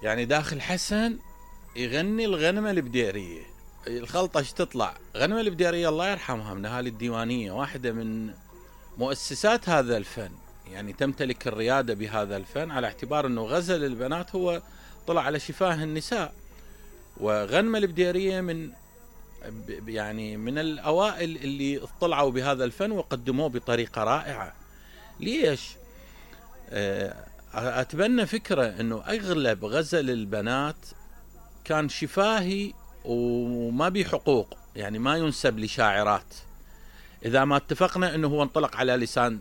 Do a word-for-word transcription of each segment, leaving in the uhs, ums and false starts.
يعني داخل حسن يغني الغنمة البديرية. الخلطة ايش تطلع؟ غنمة البديرية الله يرحمها من اهالي الديوانية، واحدة من مؤسسات هذا الفن، يعني تمتلك الريادة بهذا الفن على اعتبار انه غزل البنات هو طلع على شفاه النساء. وغنمة البديرية من يعني من الاوائل اللي اطلعوا بهذا الفن وقدموه بطريقة رائعة. ليش؟ اتبنى فكرة انه اغلب غزل البنات كان شفاهي وما بي حقوق، يعني ما ينسب لشاعرات اذا ما اتفقنا انه هو انطلق على لسان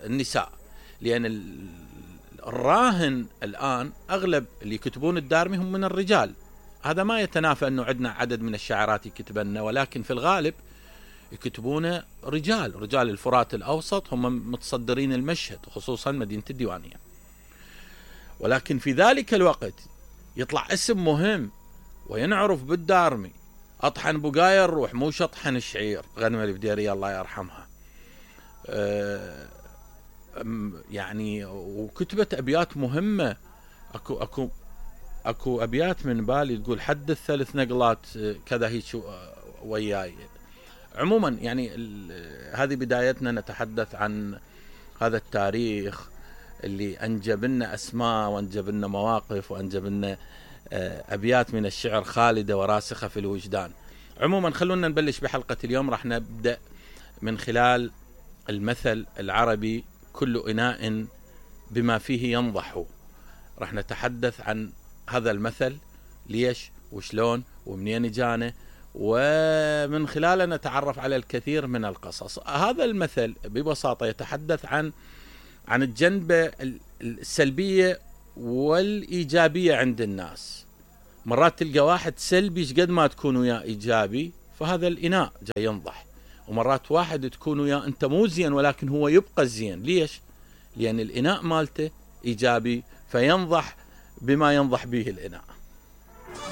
النساء. لان الراهن الان اغلب اللي يكتبون الدارمي هم من الرجال. هذا ما يتنافى انه عندنا عدد من الشاعرات يكتبن، ولكن في الغالب يكتبون رجال، رجال الفرات الاوسط هم متصدرين المشهد، خصوصا مدينة الديوانية. ولكن في ذلك الوقت يطلع اسم مهم وينعرف بالدارمي، اطحن بقايا الروح مو شطحن الشعير، غنمة البديرية الله يرحمها. أه يعني وكتبت ابيات مهمة. اكو اكو اكو ابيات من بالي تقول حدث ثلاث نقلات كذا هيك وياي. عموما يعني هذه بدايتنا نتحدث عن هذا التاريخ اللي انجب لنا اسماء وانجب لنا مواقف وانجب لنا ابيات من الشعر خالدة وراسخة في الوجدان. عموما خلونا نبلش بحلقة اليوم. راح نبدأ من خلال المثل العربي كل إناء بما فيه ينضح. راح نتحدث عن هذا المثل، ليش وشلون ومنين جانا، ومن خلاله نتعرف على الكثير من القصص. هذا المثل ببساطة يتحدث عن عن الجنبة السلبية والإيجابية عند الناس. مرات تلقى واحد سلبي قد ما تكون وياه إيجابي فهذا الإناء جاي ينضح، ومرات واحد تكون وياه أنت مو زين ولكن هو يبقى زين. ليش؟ لأن الإناء مالته إيجابي فينضح بما ينضح به الإناء.